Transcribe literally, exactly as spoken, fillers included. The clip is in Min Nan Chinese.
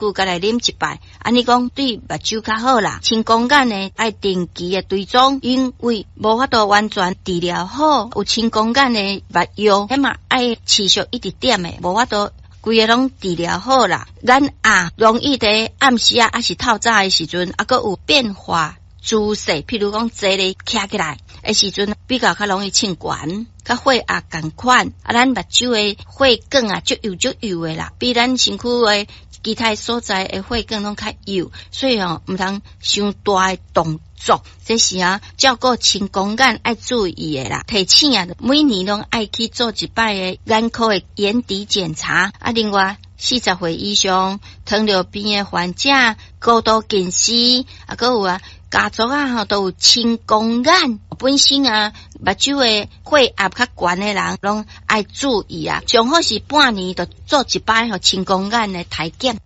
久才來啉一擺，按呢講對目睭較好啦。青光眼呢，愛定期的追蹤，因為無法度完全治療好。有青光眼的目藥，彼嘛愛持續一直點的，無法度規个攏治療好啦。眼壓容易佇暗時啊，抑是透早的時陣，抑閣有變化姿勢，譬如講坐咧徛起來的時陣，比較較容易衝懸，佮血壓仝款。啊，咱目睭的血管啊，足幼足幼的啦，比咱身軀的其他所在的血管攏較幼，所以吼毋通傷大的動作。這是啊，照顧青光眼愛注意的啦。提醒啊，每年攏愛去做一擺的眼科的眼底檢查。啊，另外四十歲以上糖尿病的患者、高度近視，啊，閣有啊，家族啊吼都有青光眼，本身啊目睭的血壓較懸的人，攏愛注意啊。上好是半年就做一擺吼青光眼的體檢。